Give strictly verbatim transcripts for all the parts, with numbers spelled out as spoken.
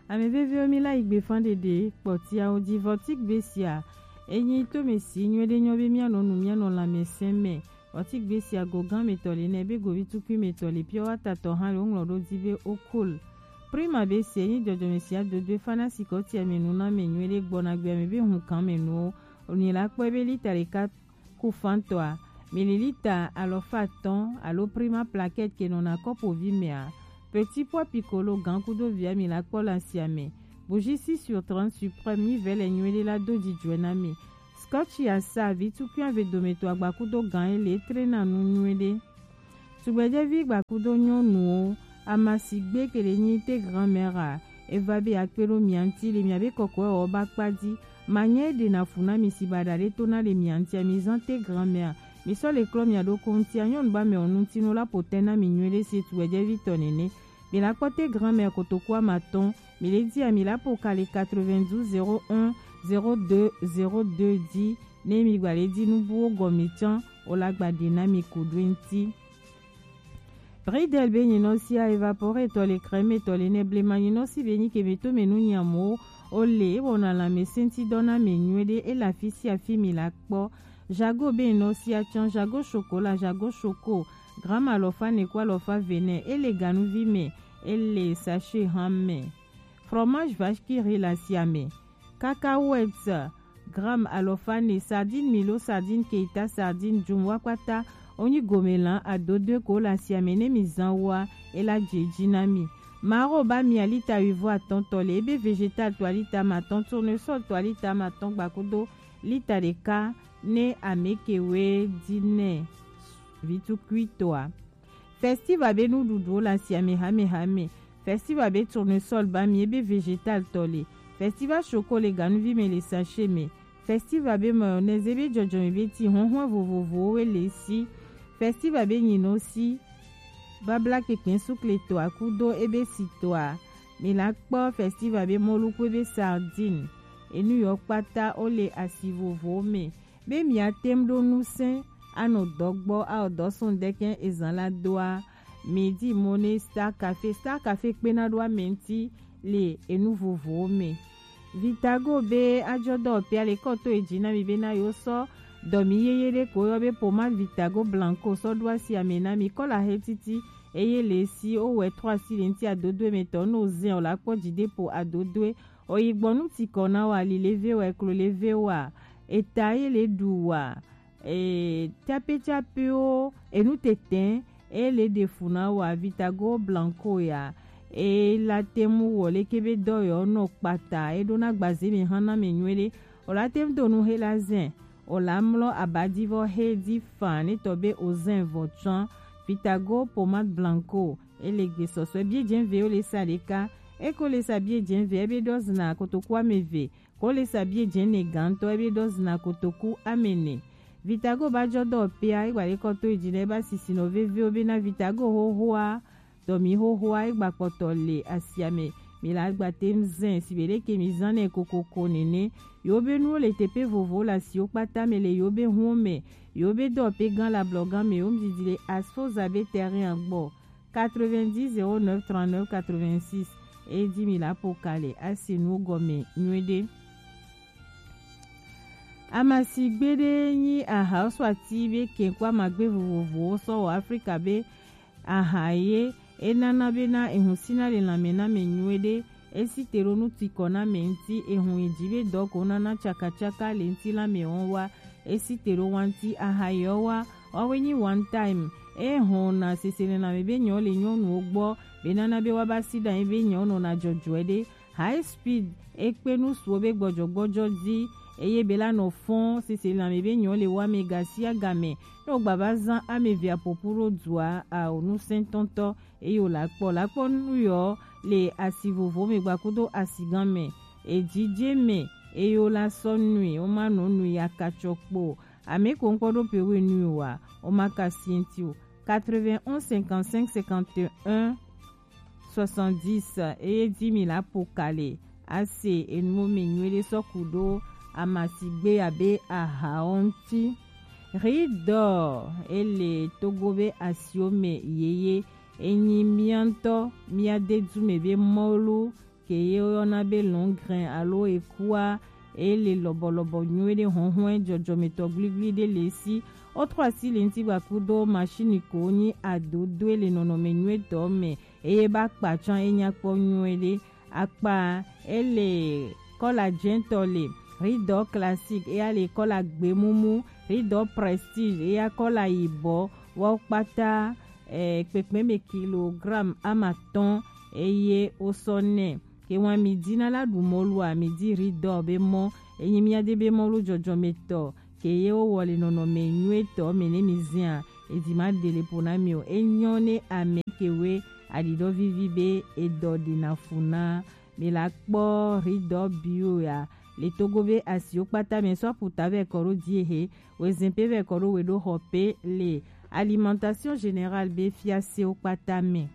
Ame veviwo, mi la yi gbe fan ɖeɖe kpɔtiawo ji. Vɔtigbe sia, enyi to me si nyuie ɖe nyɔ be mianɔ nu, mianɔ lãmesẽ me. Vɔtigbe sia go gan me tɔ le nɛ be govi tukui me tɔ le pure water tɔ hã le woŋlɔ ɖo di be okol. Prima be si enyi dzɔdzɔme sia dodo e fana si kɔtia me nu na me nyuie ɖe gbɔna gbea me be hun kan me nuwo. Onyi la kpɔe be lita ɖeka ku fantɔa, mililita alɔfa atɔ̃ alo Prima plaquette ke nɔna kɔpovi mea, Petit Pois Piccolo gan kudo via mi la kpɔ le asia me. Bougie six sur trente Suprême, mi vɛ le nyuie ɖe la do dzidzɔe na mi. Scotch ya sa vi tukui ave dometɔ agba kudo gan ele trena nu nyuie ɖe. Tugbedzɛvi gbakudo nyɔnuwo, amasigbe ke ɖe nyi te grand-mère a, eva be akpe ɖo mia ŋuti le miabe kɔkɔewɔwɔ ba kpa ji. Manyɛ ɖe na fu na mi si baɖa ɖe to na le mia ŋutia, mi zan te grand-mère. Mi sɔ le klɔ mia ɖokɔ ŋutia, nyɔnu ba mɛ ŋutino la potɛ na mi nyuie ɖe se tugbedzɛvi tɔ nene. Mi la kpɔ te grand-mère kotoku amatɔn, mi le dia mi la po ka le quatre-vingt-douze zéro un zéro deux zéro deux di, ne mi gba le di nubuwo gɔmi can, o la gba ɖe na mi ku ɖo ŋuti. Bridel be nyinɔsi a évaporé tɔ le crème tɔ le nɛ blema nyinɔsi be nyi ke me to me nu nyamuwo o le e wɔna lãmesẽti dɔ na me nyuie ɖe e le afi sia afi mi la kpɔ. Jago be nyinɔsi a can, jago chocolat, jago choco, gramme alɔfa ne ku alɔfa ve nɛ, e le ganuvi me, e le sachet hã me. Fromage vache qui rit le asia me. Cacahuètes, gramme alɔfa ne, sardine milo, sardine keita, sardine jum wa kpata, onyi gome lan adodoe ko le asia me ne mi zan wa, e la je ji na mi. Maro ba mi a lita wuivo atɔ̃ tɔ le, ebe végétal to a lita amatɔ̃, tournesol to a lita amatɔ̃ gbakudo lita ɖeka ne ame ke we di nɛ vi tukui tɔa. Festival be nuɖuɖuwo le asia me hame hame. Festival be tournesol ba mi ebe végétal tɔ le. Festival choco le ganuvi me le sachet me. Festival be mayonnaise ebe dzɔdzɔme be ti huhlɔ̃ vovovowo we le si. Festival be nyinɔsi, babla kpekpe sukle tɔa kudo ebe si tɔa. Mi la kpɔ festival be mɔluku ebe sardine. Enu yɔ kpata wo le asi vovowo me. Be mia tem ɖo ŋusẽ anɔ dɔ gbɔ awɔ dɔ sɔn dɛkɛ ezan la doa, mi di mo ne Star Cafe. Star Cafe kpena ɖo ame ŋuti le enu vovowo me. Vitago be ajɔ dɔ pia le kɔ to eji na mi be na yo sɔ dɔ mi yeye ɖe ko yɔ be pomade Vitago Blanco sɔ ɖo asi ame na mi. Kɔla he titi eye le si o wɛ trɔ asi le ŋuti adodoe me tɔ no zɛn o la kpɔ ji de po adodoe. Oyi gbɔ nu ti kɔ na wa, ali le ve wa, eklo le ve wa, eta ye le ɖu wa, e, tsape tsapewo, enu tɛtɛ, e le ɖe fu na wa, Vitago Blanco ya, e la te mu wɔ leke be dɔ yɔ nɔ kpata, e ɖo na gbaze mi hã na mi nyuie ɖe. O la te mu do nu he la zɛn, o la mlɔ abadivɔ he di fan ne tɔ be o zɛn vɔ tsɔn, Vitago Pomade Blanco, e le gbe sɔsɔe bie jɛn ve o le sa ɖeka, e ko le sa bie jɛn ve, e be ɖɔ zina kotoku ame ve, ko le sa bie jɛn ne gantɔ, e be ɖɔ zina kotoku ame ne. Vitago ba jɔ dɔ pea, e gba le kɔ to eji ne ba sisi nɔ vevewo be na Vitago hohoa, dɔ mi hohoa, e gba kpɔtɔ le asia me. Mi la gba te mu zɛn, si be ɖe ke mi zan nɛ kokoko nene. Yo be nuwo le tepe vovo le asiwo kpata me le yo be huwo me. Yo be dɔ pe gan la blɔ gan me, wo mu didi le asfo za be terrain agbɔ. Quatre-vingt-dix zéro neuf trente-neuf quatre-vingt-six. E di mi la po ka le asi nu gɔme nyuie ɖe. Amasigbe ɖe nyi aha sɔ ati be kɛnkɔ amagbe vovovowo sɔ wɔ Afrika be aha ye e nana be na ehun sina le lanme na me nyuie ɖe. E si te ɖo nu ti kɔ na me ŋuti, ehun eji be dɔ ko nana tsakatsaka le ŋuti la me wɔn wa. E si te ɖo wanti aha yɔ wa, wawe nyi one time. E hɔn na sese le lanme be nyɔ le nyɔnuwo gbɔ, be nana be wa ba si ɖa be nyɔ nɔ na dzɔdzɔe ɖe. High speed, e kpe nu suwo be gbɔdzɔgbɔdzɔ di, eye be la nɔ fɔn sese le lanme be nyɔ le wa me gasia game. Ne wo gba va zan ame via popu ɖo dua, ao nu sɛntɔntɔ. Eye wòle akpɔ, le akpɔ nu yɔ le asi vovowo me gbakudo asigã me. Ejije me, eye wòle asɔ nui, woma nɔ nui akatsɔ kpo. Ame ko ŋkpɔ ɖo pe we nui wa, woma ka sienti o. Quatre-vingt-onze cinquante-cinq cinquante et un soixante-dix, eye di mi la po ka le ase enuwo me nyuie ɖe sɔ ku ɖo amasigbe abe ahawo ŋuti. Riz d'or, ele Togo be asiwo me yeye. Enyi mía ŋutɔ mía dedu me be mɔlu ke ye woyɔna be lɔngrɛn alo ekua, ele lɔbɔlɔbɔ nyuie ɖe hɔnhɔn jɔjɔmetɔ gbligblli ɖe le si. Wotrɔ asi le ŋuti gbakudo machine ko nyi adodoe le nɔnɔme nyuietɔ me, eye ba kpa tsã enya kpɔ nyuie ɖe. Akpa ele kɔla jɛntɔ le, ridɔ classique, eya le kɔla gbemumu, ridɔ prestige, eya kɔla yibɔ, wɔ kpata eh, kpekpeme kilogramme amatɔn, eye wosɔ nɛ. Ke wan mi dina la ɖu mɔlua, mi di ridɔ be mɔ, enyi mia de be mɔlu jɔjɔmetɔ, ke ye wowɔ le nɔnɔme nyuietɔ me ne mi zia, edi ma de le po na mi o. Enyɔ ne ame ke we aɖiɖɔ vivi be edɔ ɖi na fu na. Mi la kpɔ ridɔ bio ya le Togo be asiwo kpata me sɔ puta vɛ kɔ ɖo die he, wezin pe vɛ kɔ ɖo we ɖo xɔ pe le Alimentation Générale be fiasewo kpata me.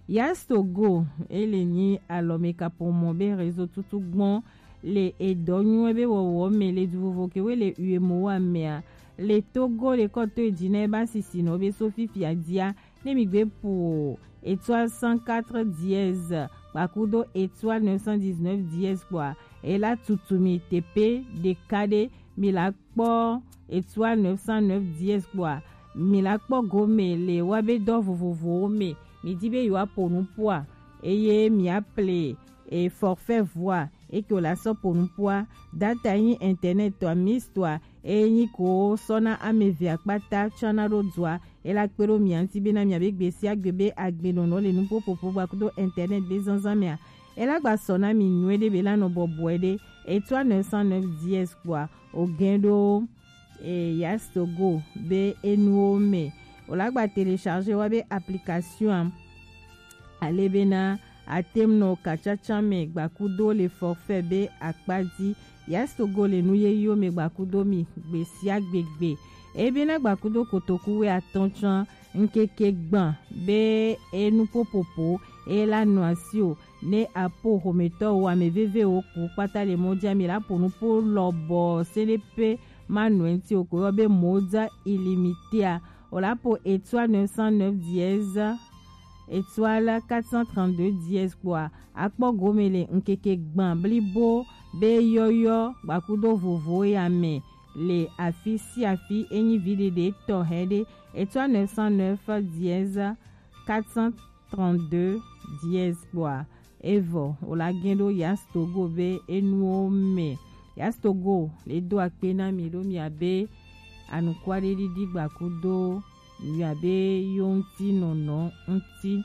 Yas Togo, ele nyi alɔme kapomɔ be réseau tutu gbɔn le edɔ nyuie be wɔwɔ me le du vovo ke we le U E M O A mea, le Togo le kɔto edzi na eba sisi nɔ be so fifia dia, ne mi gbe pu o, étoile cent quatre dièse, kpakudo étoile neuf cent dix-neuf dièse kpɔa, ela tutu mi tepe ɖeka ɖe, mi la kpɔ étoile neuf cent neuf dièse kpɔa, mi la kpɔ gome le wa be dɔ vovovowo me, mi di be yewoa po nu poa, eye mi aple e forfait voix, eke wòle asɔ po nu poa, data nyi internet tɔa, mix tɔa, eye nyi ko sɔna ame evea kpata tsɔna ɖo dua, ela kpe ɖo mia ŋuti bena miabe gbe sia gbe be agbenɔnɔ le nuƒoƒoƒo gbakudo internet be zazã mea, ela gba sɔna mi nyuie ɖe be la nɔ bɔbɔe ɖe, étoile neuf cent neuf dièse kpɔa, o gɛn ɖo e, Yas Togo be enuwo me. Wòle agba télécharger wa be application a. Ale bena ate ŋu nɔ katsatsa me gbakudo le forfait be akpa dzi. Yas Togo le nu yeyewo me gbakudo mi gbe sia gbegbe. Eye bena gbakudo kotoku wuiatɔ̃ tsã ŋkeke gbã be enu popopo eye la nɔ asi o. Ne apo xometɔwo, ame vevewo ku kpata le mɔ dzi, ami la po nupo lɔbɔ seɖepe manɔ ŋuti o ko yɔ be Moza Illimité a. O la po étoile neuf cent neuf dièse, étoile quatre cent trente-deux dièse kpɔa, akpɔ gome le ŋkeke gbã blibo be yɔyɔ gbakudo vovo ya me le afi sia afi, enyi viɖiɖi tɔxɛ ɖe, étoile neuf cent neuf dièse quatre cent trente-deux dièse kpɔa, evɔ wòle agɛn ɖo Yas Togo be enuwo me. Yas Togo le do akpe na mi ɖo miabe anukua ɖe ɖiɖi gbakudo miabe yo ŋuti nɔnɔ ŋuti.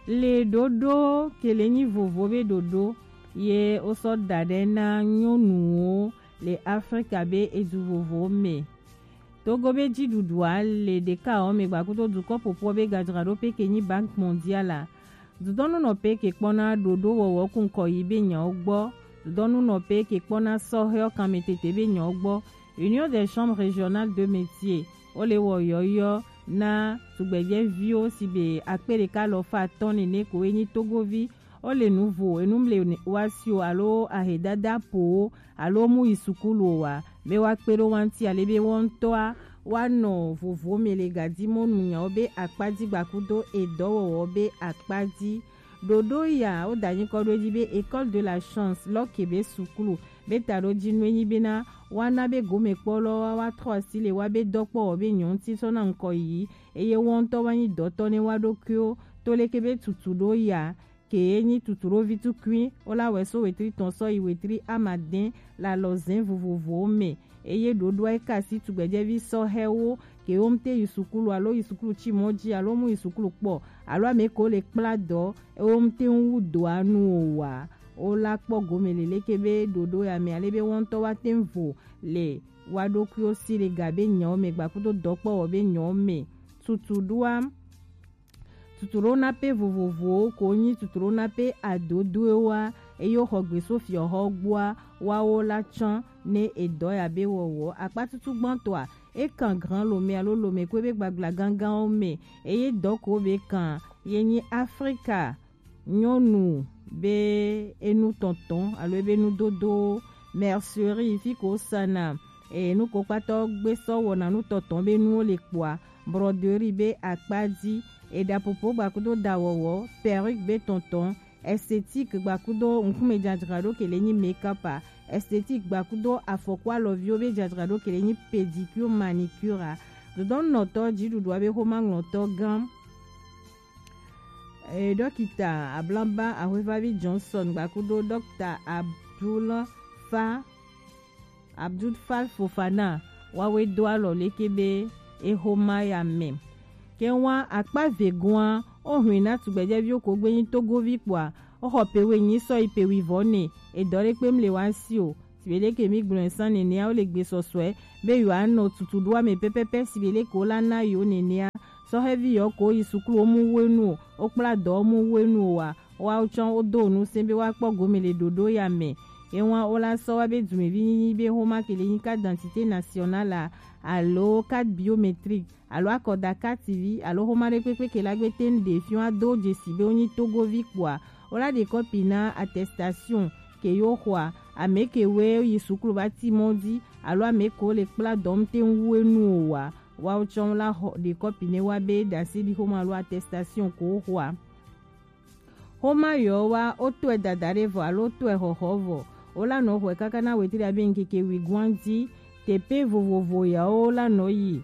Le ɖoɖo ke le nyi vovo be ɖoɖo ye wosɔ da ɖe na nyɔnuwo le Afrika be edu vovowo me. Togo be dziɖuɖua le ɖekawo me gbakudo dukɔ ƒoƒoa be gadzraɖoƒe ke nyi Banque Mondiale a. Dudɔnunɔƒe ke kpɔna ɖoɖo wɔwɔ ku ŋkɔ yi be nyawo gbɔ. Dudɔnunɔƒe ke kpɔna sɔhɛwo kanmetete be nyawo gbɔ. Union des Chambres Régionales de Métiers, wole wɔ yɔyɔ na tugbedzɛviwo si be akpe ɖeka alafa atɔ̃ nene ko ye nyi Togovi. Wole nu vo enu mle wa si o alo ahedada powo alo mu yi sukulu o wa, be woakpe ɖo wa ŋuti ale be wo ŋutɔa woanɔ vovo me le gadi mɔnu nyawo be akpa dzi gbakudo edɔwɔwɔ be akpa dzi. Ɖoɖo ya woda nyikɔ ɖo edzi be École de la Chance lɔke be sukulu be taɖodzinue nyi bena woana be gomekpɔlɔwoa woatrɔ asi le woabe dɔkpɔwɔ be nyɔ ŋuti sɔna ŋkɔ yiyi, eye wo ŋutɔ woanyi dɔtɔ ne woa ɖokuiwo to leke be tutu ɖo ya ke ye nyi tutuɖovi tukui, wo la wɛ so wetri tɔn sɔ yi wetri amadɛn le alɔzɛn vovovowo me. Eye ɖoɖoa ye ka asi tugbedzɛvi sɔhɛwo ke wo ŋute yi sukulu alo yi sukulu tsi mɔ dzi alo mu yi sukulu kpɔ alo ame ko le kpla dɔ, wo ŋute ŋu wu doa nu o wa. Wo la kpɔ gome leleke be ɖoɖo ya me ale be wo ŋutɔ woate ŋu vo le woa ɖokuiwo si le ga be nyawo me gbakudo dɔkpɔwɔ be nyawo me. Tutuɖoa Tutuɖonape vovovowo ko nyi tutuɖonape adodoewoa, eye woxɔ gbe so fiɔxɔ gbɔa, woawo la tsã ne edɔ ya be wɔwɔ. Akpatutu gbãtɔa, ekan Grand Lomé alo Lomé ko be gbagla ganganwo me, eye dɔ ko be kan ye nyi Afrika nyɔnu be enu tɔntɔn alo ebe nudodowo, mercerie fi ko sana e, nu ko kpata gbe sɔ wɔna nu tɔntɔn be nuwo le kpɔa, broderie be akpa dzi, eɖapopo gbakudo dawɔwɔ, perruque be tɔntɔn, esthétique gbakudo ŋkume jajraɖo ke le nyi make-up a, esthétique gbakudo afɔku alɔviwo be jajraɖo ke le nyi pédicure, manicure a. Dodɔnnɔtɔ jiɖuɖua be xomaŋlɔtɔ gã, e, dɔkita Ablamba Ahwevavi Johnson gbakudo dɔkita Abdul Fa Abdul Fall Fofana wawe do alɔ leke be exoma ya mɛ. Ke wa akpa vegoa, o hwin na tugbɛjɛviwo ko gbe nyi Togovi kpoa, o xɔ pe we nyi sɔ yi pe wi vɔ ne, e dɔ ɖe kpe mle wa si o. Sibe ɖe ke mi gblɔ san nene a, o le gbe sɔsɔɛ be yo anɔ tutu ɖo ame pɛpɛpɛ sibe ɖe ko la na yo nene a. Sɔhɛvi yɔ ko yi suklu o mu wenu o, o kpla dɔ o mu wenu o wa. Woawo tsã wodo nu se be woakpɔ gome le ɖoɖo ya me. Ewa wola sɔ wa be dumevi nyinyi be xoma ke le nyi carte d'identité nationale a, alo carte biométrique, alo akɔda carte vi, alo xoma ɖe kpekpe ke la gbe teŋ ɖe fiɔ ado dzesi be wonyi Togovi kpoa, wola ɖe kɔpi na attestation ke yo xɔa, ame ke we yi suklu va ti mɔ di, alo ame ko le kpla dɔm teŋ wu enu o wa. Woawo tsã wola xɔ ɖe kɔpi ne wa be ɖase ɖi xoma alo attestation ko wo xɔa. Xoma yɔ wa, o tɔe dada ɖe vɔ alo o tɔe xɔxɔ vɔ, o la nɔ xɔe kaka na wetri abe ŋkeke wi guan di. Tepe vovovo yawo la nɔ yi.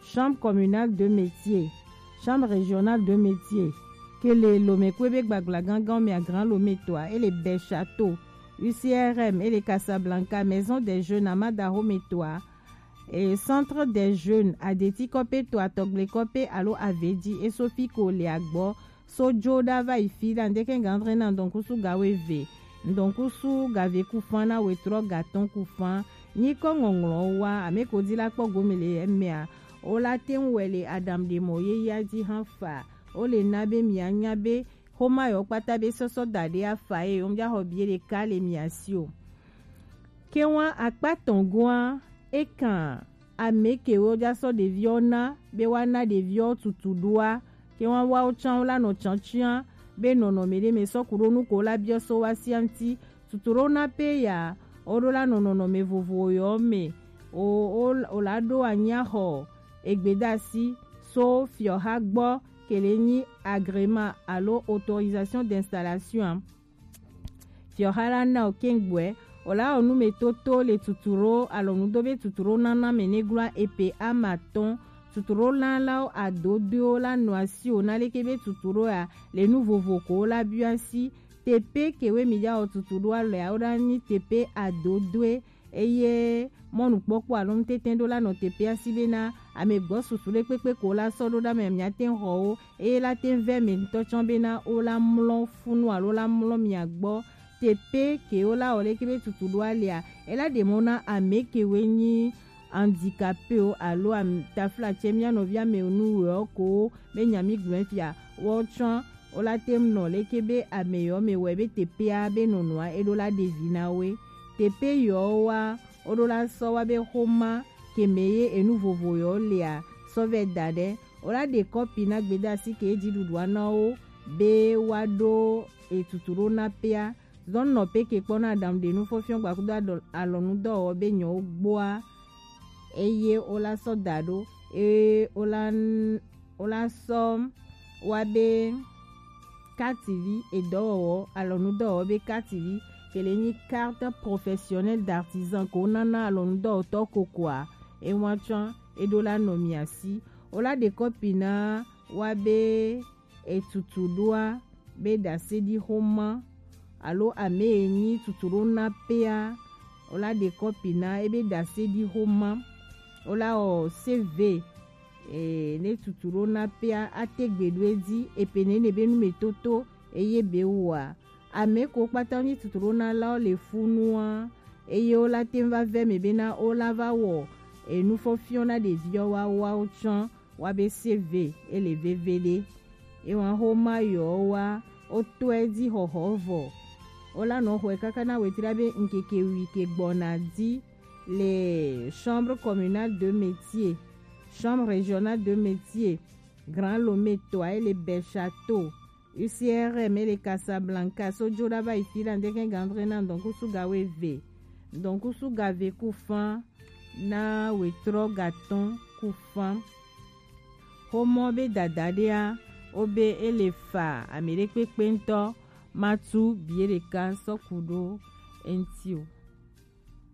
Chambre communale de métier, chambre régionale de métier, ke le Lomekwe be gbagla gangan mea, Grand Lome toa, e le Bel Château, U C R M, e le Casablanca, Maison des Jeunes, Amada Home toa, e Centre des Jeunes, Adeti kɔpe toa, Tɔgble kɔpe alo Avedi, e so fi ko le agbɔ, so jo ɖa va yi fi ɖa ŋdeke gan dre na ŋdɔnkusu gawo eve, ŋdɔnkusu gave kufan na wetrɔ gatɔn kufan. Nyikɔ ŋɔŋlɔ wa, ame ko di la kpɔ gome le emea, o la teŋ wɛ le adam ɖe mɔ ye ya di hã fa. O le na be mia nya be xoma yɔ kpata be sɔsɔ da ɖe afa ye, o mja xɔ bie ɖeka le mia si o. Ke wa akpa tɔn goa, e kan ame ke wo ja sɔ ɖeviwo na be wa na ɖeviwo tutu ɖoa, ke wa wa wo tsã wo la nɔ tsã tsã be nɔnɔme ɖe me sɔ ku ɖo nu ko la biɔ so wa sia ŋti. Tutu ɖo na pe ya, o ɖo la nɔ nɔnɔme vovo yɔ me. O, o, o la ɖo anya xɔ egbedasi so fiɔha gbɔ ke le nyi agrément alo autorisation d'installation a. Fiɔha la na o kengboɛ, o la o nume toto le tuturo alɔnudo be tuturo nana me ne glua epe ama tɔn. Tuturo la la o adodo la nɔ asi o na leke be tuturo ya le nu vovo ko la biɔ asi. Tepe ke we mi ja o tuturo alɔ ya o ɖa nyi tepe adodoe. Eye mɔnukpɔkpɔ alo ŋutete ɖo la nɔ teƒea si bena amegbɔ susu ɖe kpekpe ko la sɔ ɖo ɖa me miate ŋu xɔ wo, eye la te ŋu vɛ me ŋutɔ tsɔ bena wo la mlɔ funu alo la mlɔ mia gbɔ. Teƒe ke wo la wɔ leke be tutu ɖo alia, ela ɖe mɔ na ame ke woe nyi handicapé o alo am-, taflatse mia nɔvi ame nu wɔ ko be nya mi gblɔ fia, woawo tsã wo la te ŋu nɔ leke be ame yɔ me wɔe be teƒea be nɔnɔa eɖo la ɖe vi na woe. Teƒe yɔ wa woɖo la sɔ wa be xoma ke me ye enu vovo yɔ lea sɔ vɛ da ɖe. Wo la ɖe kɔpi na gbedasi ke dziɖuɖua na wo be woaɖo etutu ɖo na pea. Zɔn nɔ pe ke kpɔ na aɖaŋu ɖe nu fɔfiɔ gbakudo alɔ-, alɔnudɔwɔwɔ be nyɔwo gboa. Eye wo la sɔ da ɖo. Eye wo la n-, wo la sɔ wa be kativi edɔwɔwɔ, alɔnudɔwɔwɔ be kativi, ke le nyi carte professionnelle d'artisan ko nana alɔnudɔwɔtɔ kokoa, ewa tsã eɖo la nɔ mia si. Wo la ɖe kɔpi na wa be etutu ɖoa be ɖase ɖi xoma alo ame e nyi tutu ɖo na pea, wo la ɖe kɔpi na ebe ɖase ɖi xoma, wo la wɔ C V, e, ne tutu ɖo na pea, ate gbe ɖo edzi, epe nene be nu me toto, eye be woa. Ame ko kpata nyi tutu ɖo na la wo le funua, eye wo la te ŋu va vɛ me bena wo la va wɔ enu fɔfiɔ na ɖeviwo wa, woawo tsã wa be C V ele veve ɖe. Ewa xoma yɔ wa, wo tɔe dzi xɔxɔ vɔ. Wo la nɔ xɔe kaka na wetri be ŋkeke wi ke gbɔna dzi le Chambre communale de métier, Chambre régionale de métier, Grand Lomé toa, ele Bel Château, U C R M, ele Casablanca, so jo ɖa va yi fi la ŋdeke gandre na ŋdɔnkusu ga weve, ŋdɔnkusu ga ve ku fan na wetrɔ gatɔn ku fan. Xomɔ be dadaɖea, wo be e le fa ame ɖekpekpe ŋutɔ ma tu biye ɖeka sɔ ku ɖo eŋuti o.